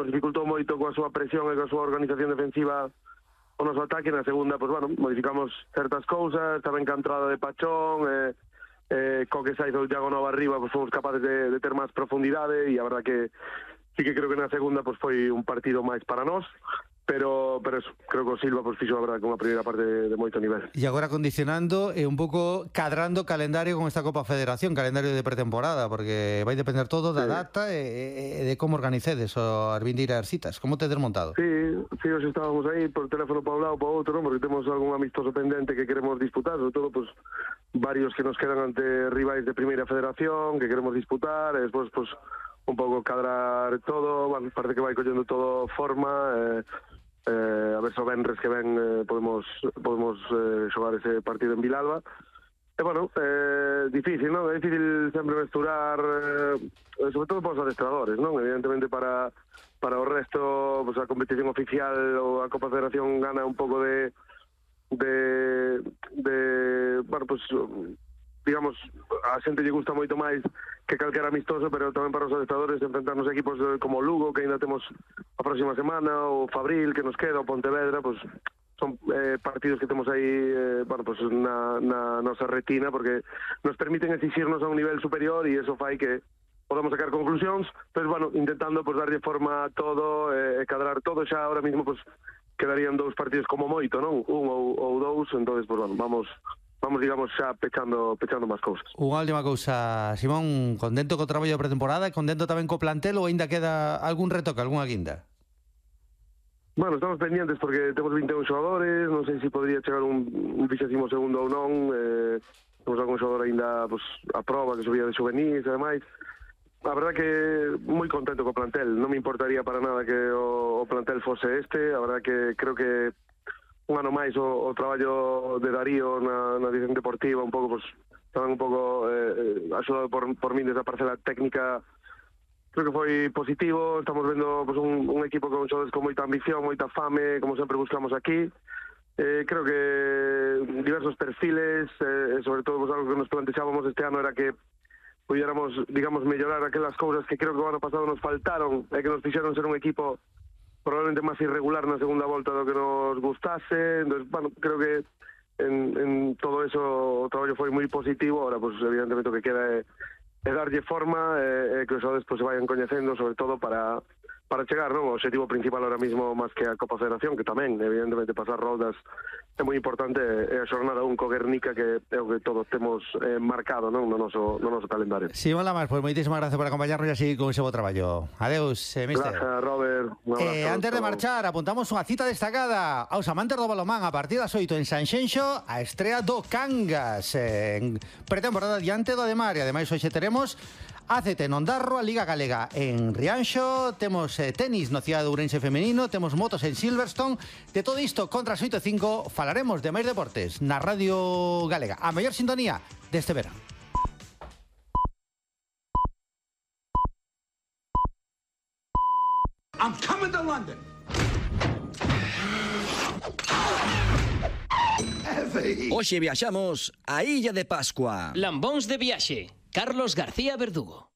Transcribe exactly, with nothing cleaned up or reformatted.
nos dificultou moito coa súa presión e coa súa organización defensiva o noso ataque. Na segunda, pues, bueno, modificamos certas cousas, estaba encantrada de Pachón, eh, eh, co que saiz o Iago Nova arriba, pues fomos capaces de, de ter máis profundidade, e a verdad que sí que creo que na segunda pues foi un partido máis para nós, pero pero eso, creo que o Silva pues fixo a verdade con a primeira parte de, de moito nivel. E agora condicionando e un pouco cadrando calendario con esta Copa Federación, calendario de pretemporada, porque vai depender todo da sí. data e, e de como organicedes o as vindeiras citas. Como te desmontado? Sí, sí, hoxe estábamos aí por teléfono para un lado para outro, ¿no? Porque temos algún amistoso pendente que queremos disputar, sobre todo pues varios que nos quedan ante rivais de primeira federación que queremos disputar, e despois pues un pouco cadrar todo. Bueno, parece que vai collendo todo forma, eh, eh, a ver se o venres que ven eh, podemos podemos eh, xogar ese partido en Vilalba. E bueno, eh, difícil, non? É difícil sempre mesturar, eh, sobre todo para os adestradores, non? Evidentemente para para o resto, pues, a competición oficial ou a Copa Federación gana un pouco de de de, bueno, pues digamos, a xente lle gusta moito máis que calquera amistoso, pero tamén para os adestradores enfrentarnos a equipos como Lugo, que ainda temos a próxima semana, ou Fabril, que nos queda, o Pontevedra, pues son eh, partidos que temos aí eh, bueno, pues na, na nosa retina, porque nos permiten exixirnos a un nivel superior, e eso fai que podamos sacar conclusións, pero bueno, intentando pues darlle forma a todo, e eh, cadrar todo. Xa ahora mismo pues quedarían dous partidos como moito, non? Un ou, ou dous, entonces pues bueno, vamos vamos, digamos, xa pechando pechando máis cousas. Unha última cousa, Simón, contento co traballo de pretemporada e contento tamén co plantel, ou ainda queda algún retoque, algunha guinda? Bueno, estamos pendientes porque temos vinte e un xogadores, non sei se podría chegar un, un vixésimo segundo ou non, eh, temos algún xogador ainda pues, a prova, que subía de juvenis e demais. A verdad que moi contento co plantel, non me importaría para nada que o, o plantel fose este. A verdad que creo que un ano máis o, o traballo de Darío na, na dirección deportiva, un pouco, pues, tamén un pouco eh, axudado por, por min desde a parcela técnica, creo que foi positivo. Estamos vendo pues, un, un equipo con xogadores con moita ambición, moita fame, como sempre buscamos aquí. Eh, creo que diversos perfiles, eh, sobre todo pues, algo que nos plantexábamos este ano era que pudiéramos, digamos, mellorar aquelas cousas que creo que o ano pasado nos faltaron e que nos fixeron ser un equipo probablemente máis irregular na segunda volta do que nos gustase. Entonces, bueno, creo que en, en todo eso o traballo foi moi positivo. Ahora, pues, evidentemente, o que queda é, é darlle forma e, e que os xogadores pues, se vayan coñecendo, sobre todo para para chegar, non? O objetivo principal ahora mismo, máis que a Copa Federación, que tamén, evidentemente, pasar roldas é moi importante, é a xornada un co Guernica, que é o que todos temos eh, marcado, non? No noso, no noso calendario. Simón Lamas, pues moitísimas gracias por acompañarnos e así con ese bo traballo. Adeus, eh, mister. Gracias, Robert. Eh, antes de marchar, apuntamos unha cita destacada aos amantes do balonmán. A partir das oito en Sanxenxo, a estrea do Cangas en pretemporada diante do Ademar. E ademais hoxe teremos A C T en Ondarro, a Liga Galega en Rianxo, temos eh, tenis no Cidade de Ourense femenino, temos motos en Silverstone. De todo isto, contra as oito e cinco, falaremos de máis deportes na Radio Galega, a mellor sintonía deste verán. I'm coming to London. Hoxe viaxamos a Illa de Pascua. Lambóns de viaxe, Carlos García Verdugo.